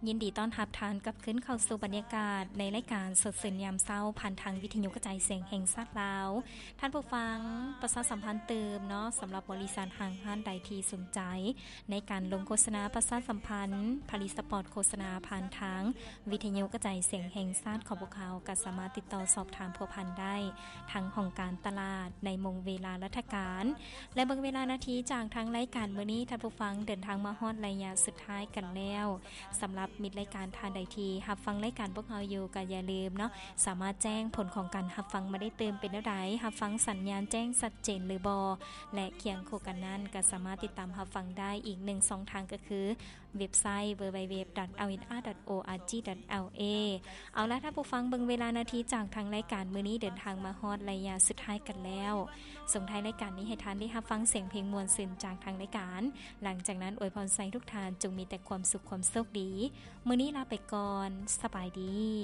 ຍິນດີຕ້ອນຮັບທ່ານກັບຄືນເຂົ້າສູ່ບັນຍາກາດໃນລາຍການສົດຊື່ນຍາມເຊົ້າ ຜ່ານທາງວິທະຍຸກະຈາຍສຽງແຫ່ງຊາດລາວ. ທ່ານຜູ້ຟັງ, ປະຊາສຳພັນຕື່ມເນາະ, ສຳລັບບໍລິສັດຫ້າງຮ້ານໃດທີ່ສົນໃຈໃນການລົງໂຄສະນາປະຊາສຳພັນຜະລິດສະປອດໂຄສະນາ ຜ່ານທາງວິທະຍຸກະຈາຍສຽງແຫ່ງຊາດຂອງພວກເຮົາ ກໍສາມາດຕິດຕໍ່ສອບຖາມພົວພັນໄດ້ທາງຫ້ອງການຕະຫຼາດໃນໂມງເວລາລັດຖະການ. ແລະ ເບິ່ງເວລານາທີຈາກທາງລາຍການມື້ນີ້, ທ່ານຜູ້ຟັງ, ເດີນທາງມາຮອດໄລຍະສຸດທ້າຍກັນແລ້ວ. ສຳລັບມິດລາຍການທ່ານໃດທີ່ຮັບຟັງລາຍການພວກເຮົາຢູ່ ກໍຢ່າລືມເນາະ, ສາມາດແຈ້ງຜົນຂອງການຮັບຟັງມາໄດ້ຕື່ມເປັນແນວໃດ, ຮັບຟັງສັນຍານແຈ້ງຊັດເຈນຫຼືບໍ່ ແລະ ຄຽງຄູ່ກັນນັ້ນ ກໍສາມາດຕິດຕາມຮັບຟັງໄດ້ອີກໜຶ່ງຊ່ອງທາງ ກໍຄືເວັບໄຊ www.lsr.org.la. ເອົາລະ ທ່ານຜູ້ຟັງ, ເບິ່ງເວລານາທີຈາກທາງລາຍການມື້ນີ້ເດີນທາງມາຮອດໄລຍະສຸດທ້າຍກັນແລ້ວ. ສົ່ງທ້າຍລາຍການນີ້ໃຫ້ທ່ານໄດ້ຮັບຟັງສຽງເພງມ່ວນຊື່ນຈາກທາງລາຍການ. ຫຼັງຈາກນັ້ນ ອວຍພອນໃສ່ທຸກທ່ານຈົ່ງມີແຕ່ຄວາມສຸກຄວາມໂຊກດີ. ມື້ນີ້ລາໄປກ່ອນ. ສະບາຍດີ.